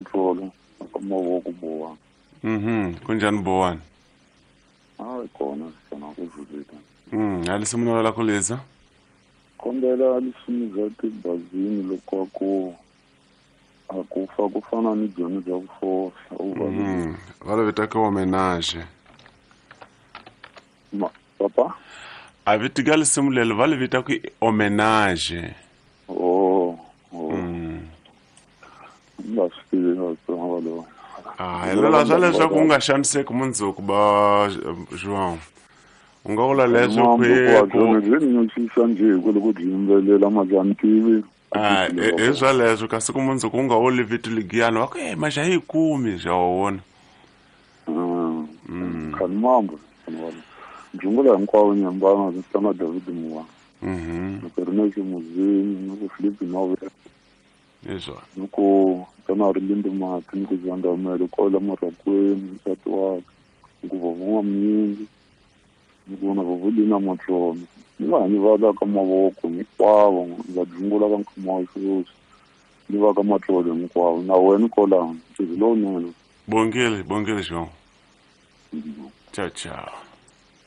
Tlolo aka mavoko Bowani. Kunjhani Bowani? Hayi kona xana ku vuleka. A lisimu na la ku liza. Kombela lisimu bya tibazini loko a ku a ku fa ku fana ni byona bya ku fohla u va Va lo vita ke homenage. Ma papa? A viti ka lisimu lelo va li vita ku i homenage. Oh, oh. Ni nga swi tivi Vatsonga va lowu. A hi lela swa leswaku u nga xaniseki mundzuku ba João. U nga vula leswo ku ku byi ni nyuchisa njhe hi ku loko byi yimbelela ma ni tivi. A hi swaleswo kasi ku mundzuku u nga wo liviti ligiyani va ku e maxa hi kumi xa wa vona. Khani mambo Jungula hinkwavo nyambana vitana David Muwa. Ni ku ri na Ximuzini ni ku Philip Mave. Hi swona. Ni ku tana ri Lindi Mati ni ku Zandamele kwala Marakweni nsati wakwe ni ku Vavun'wa Mnyingi ni ku na Vavulina Matsonga ni va ni va ka mavoko hinkwavo va jungula ka nkama wa sweswi ni va ka matlolo hinkwavo na wena kwalano ntirho lowunene. Bongile, bongile João. Tchau, tchau.